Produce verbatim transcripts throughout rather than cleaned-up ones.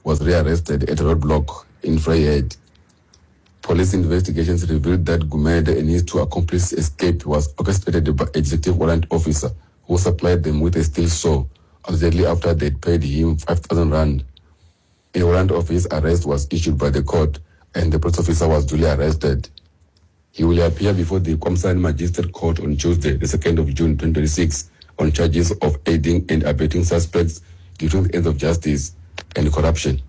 was rearrested at a roadblock in Vryheid. Police investigations revealed that Gumede and his two accomplices' escape was orchestrated by a detective warrant officer who supplied them with a steel saw allegedly after they paid him five thousand rand. A warrant of his arrest was issued by the court and the police officer was duly arrested. He will appear before the KwaMsane Magistrate Court on Tuesday, the second of June twenty twenty-six, on charges of aiding and abetting suspects during the ends of justice and corruption.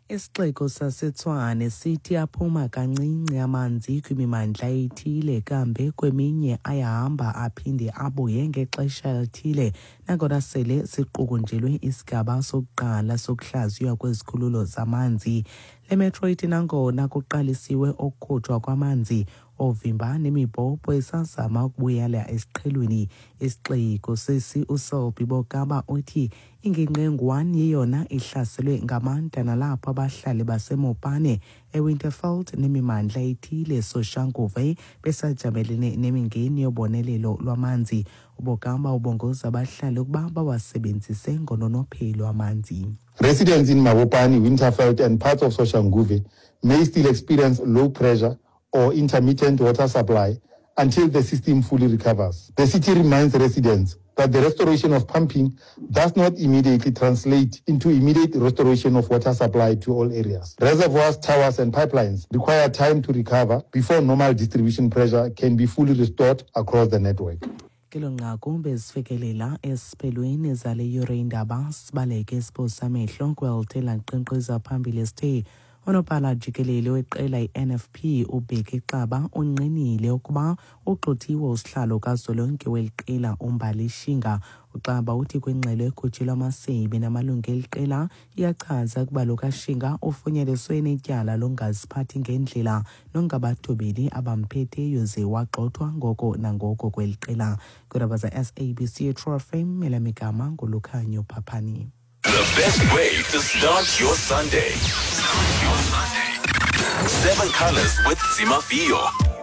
Isixeko saseTshwane sithi aphuma kancinci amanzi kwimimandla ethile, kambe kweminye ayahamba aphinde abuye ngexesha elithile, nangona sele siqukunjelwe isigaba sokuqala sokuhlaziywa kwezikhululo zamanzi. Le metro ithi nangona kuqalisiwe ukukhutshwa kwamanzi, oovimba nemibhobho isazama ukubuyela esiqhelweni. Isixeko sesi uSelby Bokaba uthi ingingqi engu-one yeyona ihlaselwe ngamandla, nalapho abahlali baseMopane, eWinterveld nemimandla ethile Soshanguve besajamelene nemingeni yobonelelo lwamanzi. UBokaba ubongoza abahlali ukuba bawasebenzise ngononophelo amanzi. Residents in Mabopane, Winterveld and parts of Soshanguve may still experience low pressure or intermittent water supply until the system fully recovers. The city reminds residents that the restoration of pumping does not immediately translate into immediate restoration of water supply to all areas. Reservoirs, towers and pipelines require time to recover before normal distribution pressure can be fully restored across the network. Kelo nqaku bezifikelela esiphelweni zale yure indaba. Sibaleke siphosa amehlo kwelithe laqenqeza phambili. Sithe unobhala jikelele weqela i-N F P uBheki Xaba unqinile ukuba ugxothiwe usihlalo kazwelonke weli qela uMbali Shinga. uXaba uthi kwingxelo ekhutshelwe amasebe namalungu eli qela iyachaza ukuba lo kaShinga ufunyaniswe netyala longaziphathi ngendlela nongabathobeli abamphetheyo ze wagxothwa ngoko nangoko kweli qela. Kwiindaba za-S A B C True F M, elamigama nguLukhanyo Phaphani. The best way to start your Sunday. Your Sunday. Seven Colors with Zimafio.